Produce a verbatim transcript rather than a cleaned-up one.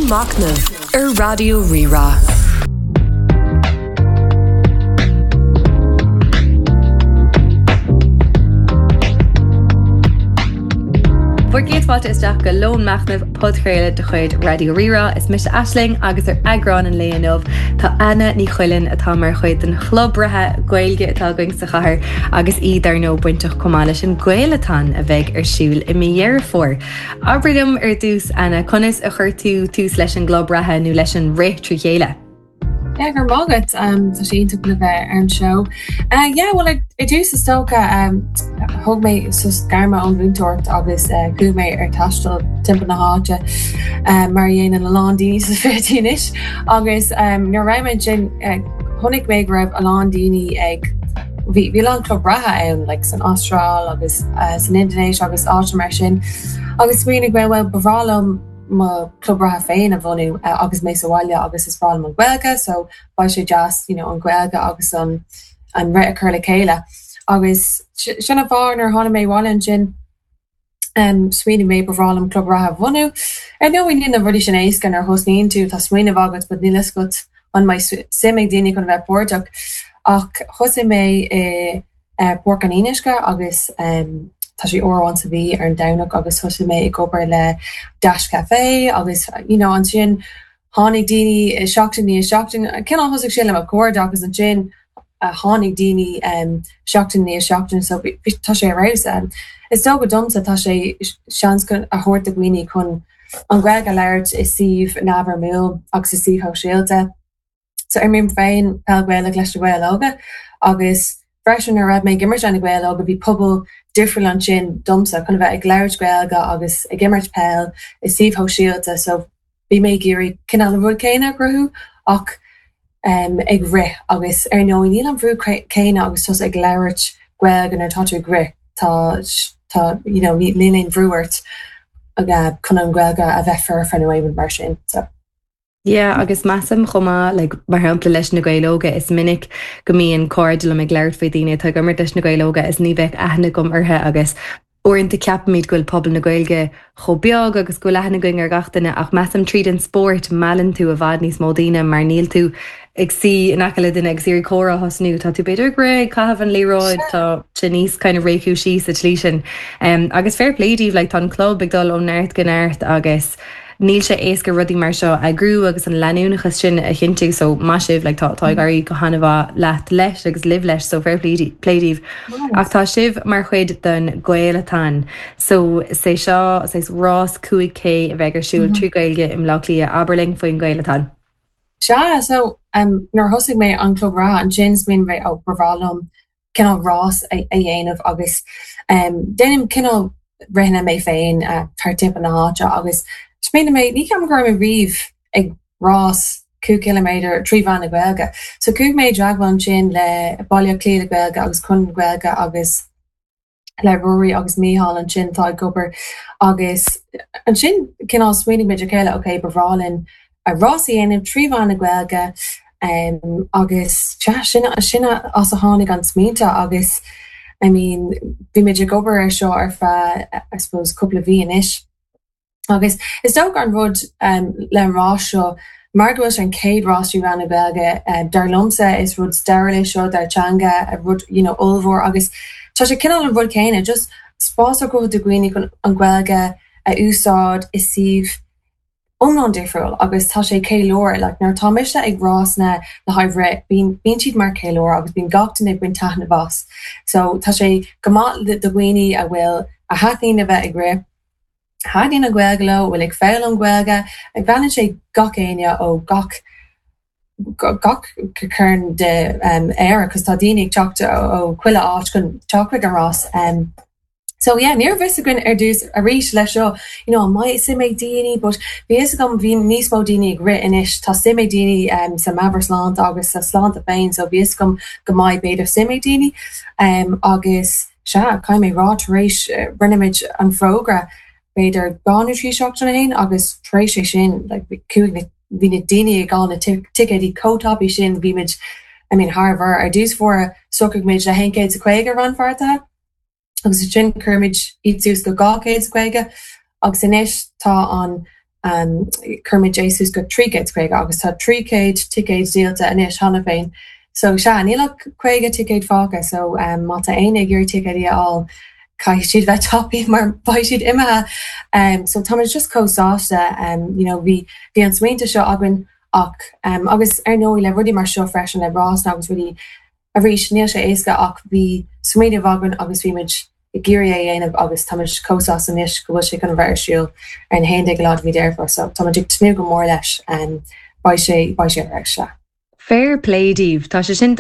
Machnamh ar Raidió Rí-Rá. Bhur gcéad fáilte isteach go Lón Machnaimh podchraoladh de chuid Raidió Rí-Rá. Is mise Aisling agus ar eagrán an lae inniu tá Anna Ní Chuilinn atá mar chuid den chlub reatha Gaeilge atá againn sa chathair agus í dar ndóigh bainteach chomh maith leis an Gaelathon a bheidh ar siúl i mí Dheireadh Fómhair. Abair liom ar dtús Anna, conas a chuir tú tús leis an gclub reatha nó leis an rith trí chéile? Yeah, go raibh maith agat um, tá sé iontach le bheith ar an show. Uh, yeah, well ar dtús is dócha um, thóg mé sos gairme ón mhúinteoireacht agus uh, chuaigh mé ar taisteal timpeall na háite uh, mar a dhéanann a lán daoine sa fichidí anois agus um, nuair a raibh mé sin uh, chonaic mé go raibh a lán daoine ag bhí bhí lán club reatha ann like, san Astráil agus uh, san Indonéis agus áit mar sin agus smaoinigh mé well ba bhreá liom mo club reatha féin a bhunú uh, agus mé sa bhaile agus is breá liom an Ghaeilge so beidh sé deas you know, an Ghaeilge agus an an rith a chur le chéile agus sin an fáth nuair tháinig mé abhaile ansin um, smaoinigh mé ba bhreá liom club reatha a bhunú. Ar ndóigh níl na rudaí sin éasca nuair a thosnaíonn tú tá smaoineamh agat but níl a fhios agat an mbeidh suim ag daoine chun bheith páirteach ach thosaigh mé i uh, Páirc an Fhionnuisce agus um, tá sé uair amháin sa mhí ar an Domhnach agus thosaigh mé ag obair le Dash Café agus you know, ansin tháinig daoine seachtain i ndiaidh seachtain cineál thosaigh sé le mo chairde agus ansin uh, tháinig daoine um, seachtain i ndiaidh seachtain so tá sé arís um, is dócha domsa tá sé seans a thabhairt do dhaoine chun an Ghaeilge a labhairt i suíomh neamhfhoirmiúil agus i suíomh shóisialta. So imrím féin peil Ghaelach leis na Gaeil Óga agus freisin nuair a raibh mé ag imirt na Gaeil Óga bhí pobal difriúil ansin domsa chun bheith ag labhairt Gaeilge agus ag imirt peil i suíomh shóisialta so bhí mé ag iarraidh cineál an rud céanna a chruthú ach um, ag rith agus ar ndóigh níl an brú céanna agus tusa ag labhairt Gaeilge nuair atá tú ag rith tá tá you know, níl aon bhrú ort chun an Ghaeilge a bheith foirfe nó mar sin so. Yeah, agus measaim chomh maith like, mar shampla leis na Gaeil Óga is minic go mbíonn cairde liom ag labhairt faoi daoine atá ag imirt leis na Gaeil Óga is ní bheadh aithne agam orthu agus uaireanta ceapaimid go bhfuil pobal na Gaeilge chomh beag agus go bhfuil aithne againn ar gach duine ach measaim tríd an spórt meallann tú i bhfad níos mó daoine mar níl tú ag suí in aice le duine agus iarraidh comhrá a thosnú tá tú b'fhéidir ag rith caitheamh an liathróid tá sé níos kind of réchúisí sa tslí sin. Um, agus fair play daoibh like, tá an club ag dul ó neart go neart agus níl sé éasca rudaí mar seo a eagrú agus an leanúnachas sin a chinntiú so maith sibh like, tá tá ag éirí go han-mhaith leat leis agus libh leis so fair play play daoibh. Ach tá sibh mar chuid den Gaelathon. So sé seo sé rás cúig K a bheidh ar siúl trí Ghaeilge i mBleá Cliath abair linn faoin Gaelathon. Sea so um, nuair thosaigh mé an club reatha ansin smaoinigh mé ó ba bhreá liom cineál rás a, a dhéanamh agus um, déanaim cineál ritheanna mé féin uh, thar timpeall na háite agus smaoinigh mé ní ceapaim go raibh mé riamh ag rás cúig ciliméadar trí mheán na Gaeilge. So chuaigh mé i dteagmháil ansin le Baile Átha Cliath le Gaeilge agus Conradh na Gaeilge agus le Ruairí agus Mícheál ansin tá ag obair agus ansin cineál smaoinigh muid a chéile ok ba bhreá linn a rás a dhéanamh trí mheán na Gaeilge um, agus sea, sin sin as a tháinig an smaointe agus I mean bhí muid ag obair ar seo ar feadh I suppose cúpla mí anois. Agus is dócha an rud um, le an rás seo mar go bhfuil sé an chéad rás trí mheán na Gaeilge um, dar liomsa is rud stairiúil é seo dár teanga a rud you know, ollmhór agus tá sé cineál an rud céanna just spás a chruthú do dhaoine chun an Ghaeilge a úsáid i suíomh iomlán difriúil agus tá sé ceiliúradh like, nuair tá mise ag rásanna le haghaidh rith bíonn bíonn siad mar ceiliúradh agus bíonn gach duine ag baint taitneamh as. So tá sé go maith do dhaoine a bhfuil a thaitníonn a bheith ag rith thaitníonn an Ghaeilge leo, bhfuil ag foghlaim Gaeilge, ag meallann sé gach éinne ó gach gach cearn de um, Éire, cos tá daoine ag teacht ó chuile áit chun teacht chuig an rás. Um, So yeah, ní raibh fhios againn ar dtús arís leis seo, you know, an mbeidh suim ag daoine, but bhí fhios agam bhí níos mó daoine ag rith anois, tá suim ag daoine um, sa meabhairshláinte agus sa sláinte féin, so bhí fhios agam go mbeidh b'fhéidir suim ag daoine. Um, agus sea, caithfidh mé rá tar éis uh, rinne muid an fógra b'fhéidir dhá nó trí seachtain ó shin agus tar éis é sin like, chuaigh na bhí na daoine ag fáil na ticéidí chomh tapaidh sin bhí muid I mean thar bharr ar dtús báire shocraigh muid le haon chéad is caoga rannpháirtithe agus sin chuir muid iad suas go dhá chéad is caoga agus anois tá an um, chuir muid é suas go trí chéad caoga agus tá trí chéad ticéad díolta anois cheana féin. So sea níl ach caoga ticéad fágtha so um, má tá éinne ag iarraidh ticéid a fháil caithfidh siad bheith tapaidh mar beidh siad imithe. Um, so tá just chomh sásta um, you know, bhí bhí an smaointe seo againn ach um, agus ar ndóigh le rudaí mar seo freisin le rás agus rudaí arís níl sé éasca ach bhí smaoineamh againn agus bhí muid ag iarraidh é a dhéanamh agus tá chomh sásta anois go bhfuil sé chun bheith ar siúl ar an haon déag lá de mhí Deireadh Fómhair so tá ag tnúth go mór leis um, beidh sé beidh sé ar se. Fair play daoibh Tá sé sin